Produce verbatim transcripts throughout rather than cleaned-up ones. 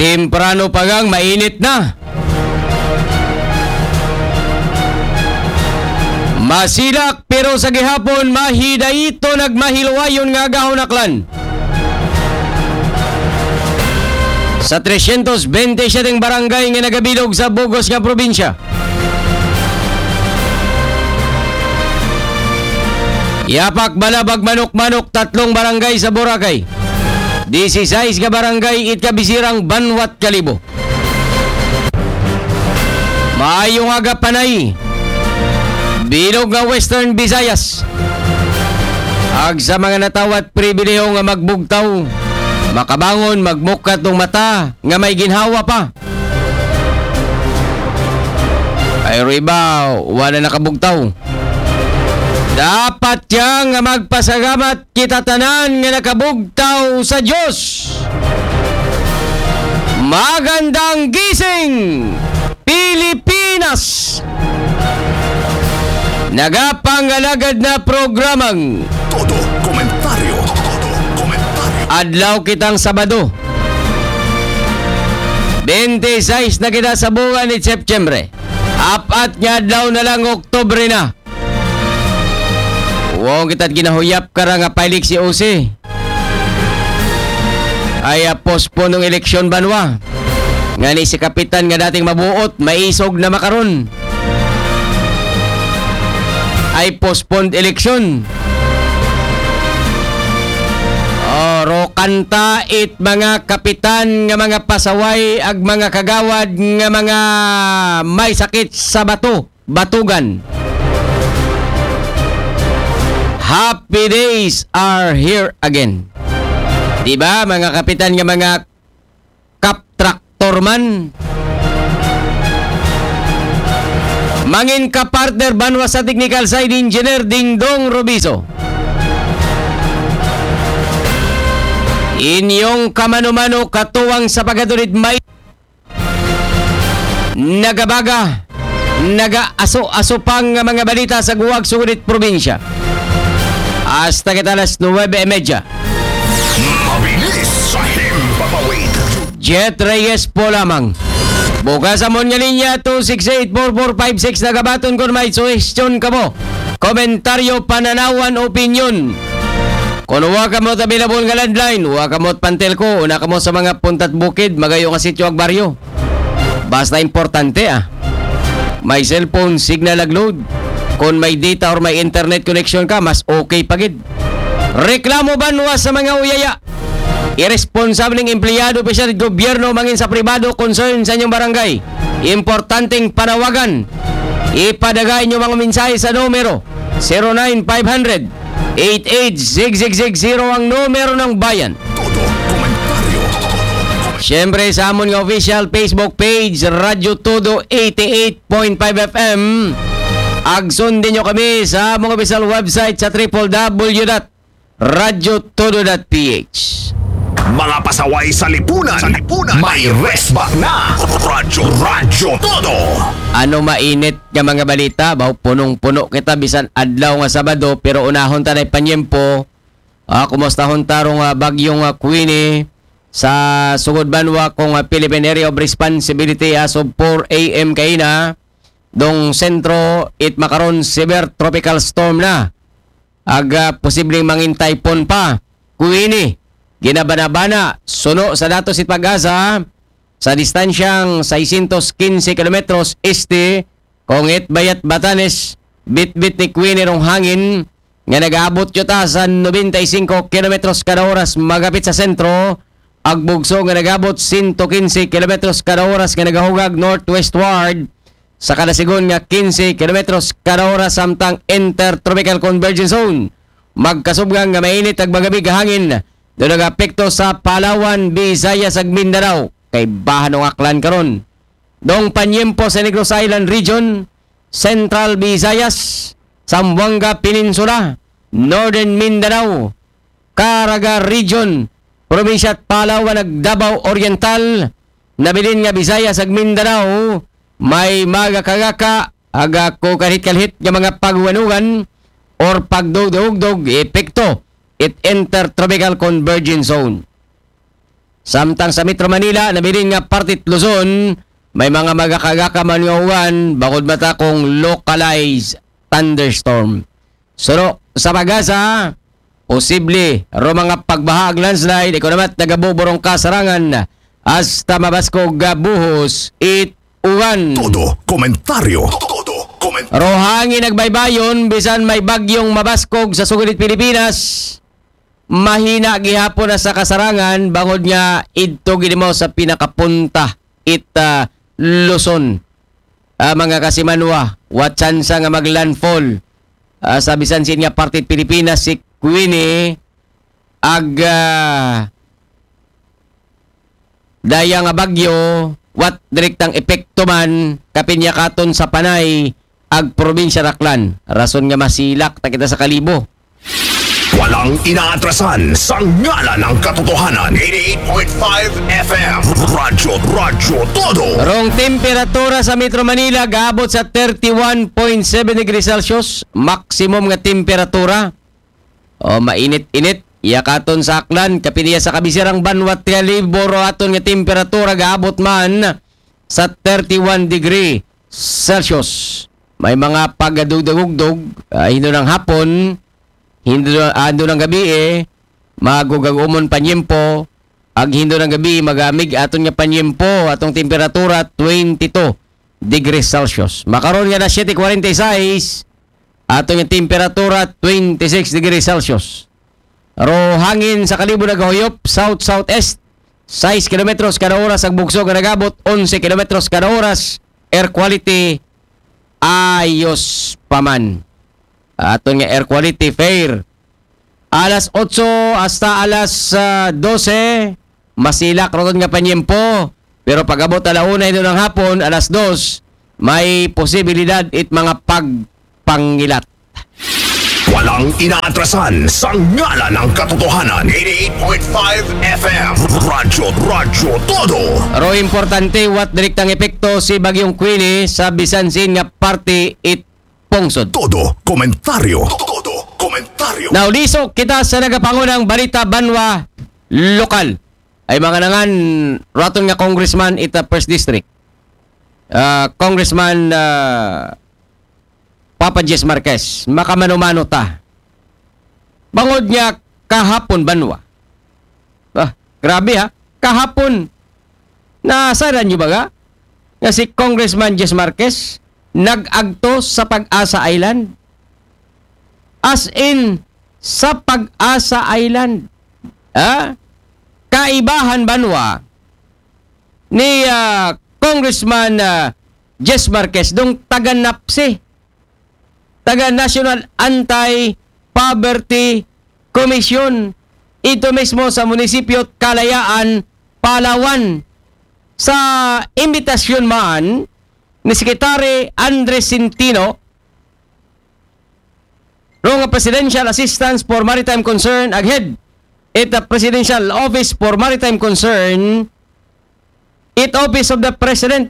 Temprano pa gang mainit na. Masilak pero sa gihapon mahidayto nagmahiluwayon nga agahon aklan. Sa tresyentos bente siyete barangay nga nagabilog sa bugos nga probinsya, yapak balabag manok-manok tatlong barangay sa Boracay. Disisais ka barangay it kabisirang banwat Kalibo. Maayong aga, Panay. Bilog nga Western Visayas. Ag sa mga natawat pribileho nga magbugtaw, makabangon, magmukat ng mata nga may ginhawa pa. Ay, riba, wala nakabugtaw. Dapat yang magpasalamat kita tanan nga nakabugtaw sa Diyos. Magandang gising, Pilipinas! Nagapangalagad na programang Todo komentaryo. Todo komentaryo. Adlaw kitang Sabado. Bente sais na kita sa buwan ni September. Apat nga adlaw na lang, Oktubre na. Wow, kita ginahuyap ka ra nga pailik si O C. Ay, ah, postpone ng eleksyon banwa. Nga ni si Kapitan nga dating mabuot, maisog na makaron. Ay, postponed eleksyon. Oro kanta it mga kapitan nga mga pasaway ag mga kagawad nga mga may sakit sa bato, batugan. Happy days are here again. Di ba, mga kapitan nga mga kap traktor man? Mangin ka partner banwa sa technical side, Engineer Dingdong Robiso. Inyong kamano-mano katuwang sa pagkatulit may nagabaga, nagaaso-aso pang nga mga balita sa guwag sugunit probinsya. Hasta kita alas nuwebe y media. Mabilis sa himpapawid. Jet Reyes po lamang. Bukas amon nga linya, two six eight four four five six, nagabaton kon may suhestyon kamo, komentaryo, pananawan, opinyon. Kon wa kamo available nga landline, wa kamo pantelko, una kamo sa mga puntat bukid, magayo nga sityo ag baryo. Basta importante, ah. May cellphone signal ag load. Kon may data or may internet connection ka, mas okay pa gid. Reklamo banwa sa mga uyaya. Irresponsableng empleyado, opisyal sa gobyerno, mangin sa pribado, concern sa inyong barangay. Importanteng panawagan. Ipadala inyong mga mensahe sa numero zero nine five hundred eight eight six six six zero ang numero ng bayan. Todo komentaryo. Siyempre, sa amon nga official Facebook page, Radyo Todo eighty-eight point five F M. Ag sundin nyo kami sa among official website sa triple W dot radyo todo dot P H. Mga pasaway sa lipunan, sa lipunan, may resback na. Radyo, Radyo Todo. Ano mainit nga mga balita? Baw, punong-puno kita bisan adlaw nga Sabado, pero unahon ta na panyempo. Ah, kumustahon ta rong, ah, bagyong, ah, Queenie sa sugod banwa kong, ah, Philippine Area of Responsibility as of four A M kaina. Dong sentro, it makaron severe tropical storm na. Ag, ah, posibleng mangin typhoon pa. Queenie, ginabanabana, suno sa datos it PAGASA, sa distansyang seiscientos quince kilometros este, kung it bayat Batanes, bitbit ni Queenie rong hangin, nga nagaabot yuta sa nobenta y singko kilometros kada oras magapit sa sentro, ag bugso nga nagaabot sento kinse kilometros kada oras nga nagahugag northwestward, sa kada sigon nga kinse kilometros kada oras samtang intertropical convergence zone. Magkasubgang nga mainit ag magabig nga hangin do nagaapekto sa Palawan, Visayas ag Mindanao. Kay bahan ang aklan karon. Dong panyempo sa Negros Island Region, Central Visayas, Zamboanga Peninsula, Northern Mindanao, Caraga Region, Probinsya Palawan ag Davao Oriental, nabilin nga Visayas ag Mindanao, may magakagaka, aga ko kalhit-kalhit nga mga pagwanugan or pagdugdog-dugdog epekto it Intertropical Convergence Zone. Samtang sa Metro Manila, nabilin nga parte it Luzon, may mga magakagaka man nga uwan, bangod mata kung localized thunderstorm. Suno sa pag-asa, posible ro mga pagbaha ag landslide, ikaw naman nagabuburong kasarangan, hasta mabaskog nga buhos it uwan. Todo komentaryo. Todo komentaryo. Ro hangin ag baybayon, bisan may bagyong mabaskog sa sugod it Pilipinas, mahina gihapon na sa kasarangan, bangod nga idto gid mo sa pinakapunta it, ah, Luzon. Ah, mga kasimanwa, wa tsansa nga maglandfall, ah, sa bisan sin nga parte it Pilipinas si Queenie ag, ah, daya nga bagyo, wa direktang epekto man kapin ya katon sa Panay ag probinsya Aklan. Rason nga masilak ta kita sa Kalibo. Walang inaatrasan sa ngalan ng katotohanan. Eighty-eight point five F M. Radyo, Radyo Todo. Rong temperatura sa Metro Manila gaabot sa thirty-one point seven degrees Celsius, maximum nga temperatura. O, mainit-init. Iya katon sa Aklan, kapin ya sa kabisirang banwa it Kalibo, ro aton nga temperatura gaabot man sa thirty-one degree Celsius. May mga pagadugdagugdog, ah, hindo ng hapon, hindo, ah, hindo ng gabi, eh, magugag-umon panyempo, ag hindo ng gabi, magamig aton nga panyempo, atong temperatura twenty-two degrees Celsius. Makaron nga alas siyete kwarenta y seis, aton nga temperatura twenty-six degrees Celsius. Ro hangin sa Kalibo nagahuyop, south-southeast, sais kilometros kada oras, ag bugso nga nagabot, onse kilometros kada oras, air quality, ayos pa man. Aton nga air quality, fair. Alas otso hasta alas, ah, dose, masilak ro aton nga panyempo. Pero pag-abot ala una hindo ng hapon, alas dos, may posibilidad it mga pagpangilat. Walang inaatrasan sa ngalan ng katotohanan. Eighty-eight point five F M. Radyo, Radyo Todo. Ro importante, wa direktang epekto si Bagyong Queenie sa bisan sin nga parte it pungsod. Todo komentaryo. Todo komentaryo. Now, lisok kita sa nagapangunang balita banwa lokal. Ay mga nangan, ro aton nga congressman ita First District. Ah, Congressman, ah, Papa Jess Marquez, makamano-mano ta. Bangod nga kahapon banwa. Ah, grabe ha. Kahapon, nasayran nyo ba nga? Nga si Congressman Jess Marquez, nag-agto sa Pag-asa Island. As in, sa Pag-asa Island. Ha? Kaibahan banwa ni, ah, Congressman, ah, Jess Marquez, dong taga napsi, taga National Anti-Poverty Commission, ito mismo sa munisipyo Kalayaan, Palawan. Sa imbitasyon man ni Secretary Andres Centino, ro nga Presidential Assistance for Maritime Concern, ag head it Presidential Office for Maritime Concern, it Office of the President,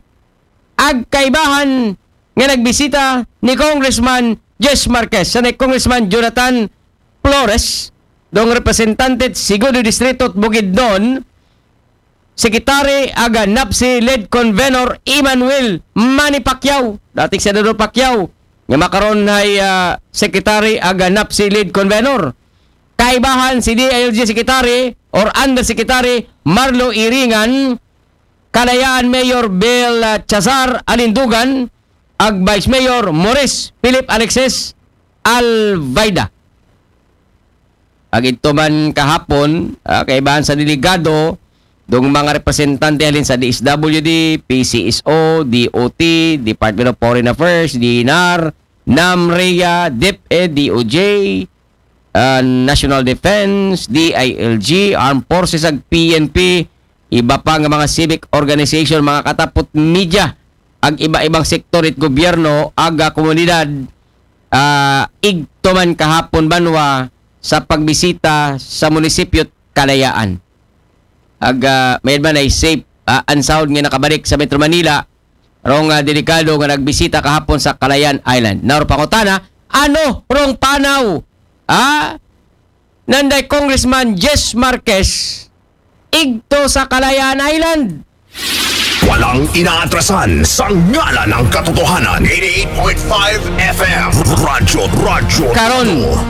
ag kaibahan nga nagbisita ni Congressman Jess Marquez, sa ni Congressman Jonathan Flores, dong representante Sigodo Distrito at Bukidnon, Secretary aga napsi lead convenor Emmanuel Manny Pacquiao, dating Senador Pacquiao, nga makaron ay, ah, Secretary aga napsi lead convenor. Kaibahan si D I L G Secretary or Undersecretary Marlo Iringan, Kalayaan Mayor Bill, ah, Chazar Alindugan, ag Vice Mayor Maurice Philip Alexis Alvaida. Ag ito man kahapon, ah, kaibahan sa delegado, dong mga representante halin sa D S W D, P C S O, D O T, Department of Foreign Affairs, D N R, NAMRIA, DepEd, D O J, ah, National Defense, D I L G, Armed Forces, ag P N P, iba pa nga mga civic organization, mga katapot media, ag iba-ibang sektor it gobyerno, aga komunidad, ah, igto man kahapon banwa sa pagbisita sa munisipyo Kalayaan. Ag, ah, may man ay safe, ah, and sound nga nakabalik sa Metro Manila, rong, ah, delikado nga nagbisita kahapon sa Kalayaan Island. Now, pangutana, ano rong panaw, ah, nanday Congressman Jess Marquez igto sa Kalayaan Island. Walang inaatrasan sa ngalan ng katotohanan. eighty-eight point five F M. Radyo, radyo. Karon,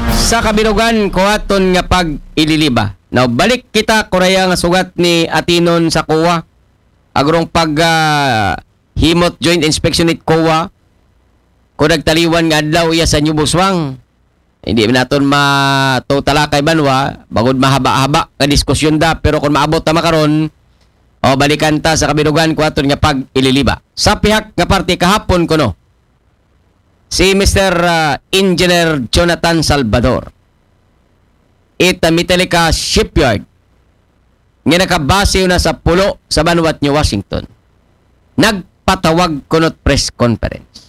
sa kabilugan ko aton nga pag-ililiba. Now, balik kita kuraya nga sugat ni Atinon sa kuwa. Agrong pag ah, himot joint inspection it kuwa. Kung nagtaliwan nga adlaw iya sa New Buswang. Hindi man naton matutalakay banwa, bagod mahaba-haba ka diskusyon da, pero kung maabot ta makaron, o balikan ta sa kabilugan ko aton nga pag-ililiba. Sa pihak nga parte kahapon kuno, si Mister ah, Engineer Jonathan Salvador, ita Metallica Shipyard, nga nakabase na sa pulo sa banwat New Washington, nagpatawag kunot press conference.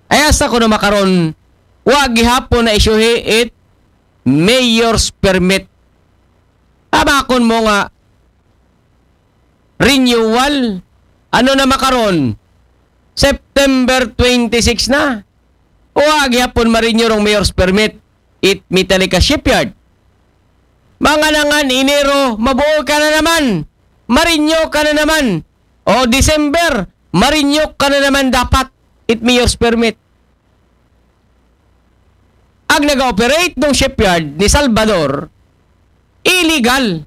Ay asa kuno makaron, wa gihapon na isyuhi it mayor's permit. Amakon mo nga renewal, ano na makaron, September twenty-six na. Wa gihapon ma-renew rong mayor's permit it Metallica Shipyard. Mga nangan Enero, mabuo ka na naman. Ma-renew ka na naman. O December, ma-renew ka na naman dapat it mayor's permit. Ang nag-operate ng shipyard ni Salvador, illegal.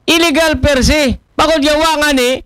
Illegal per se. Bakod yawa nga ni,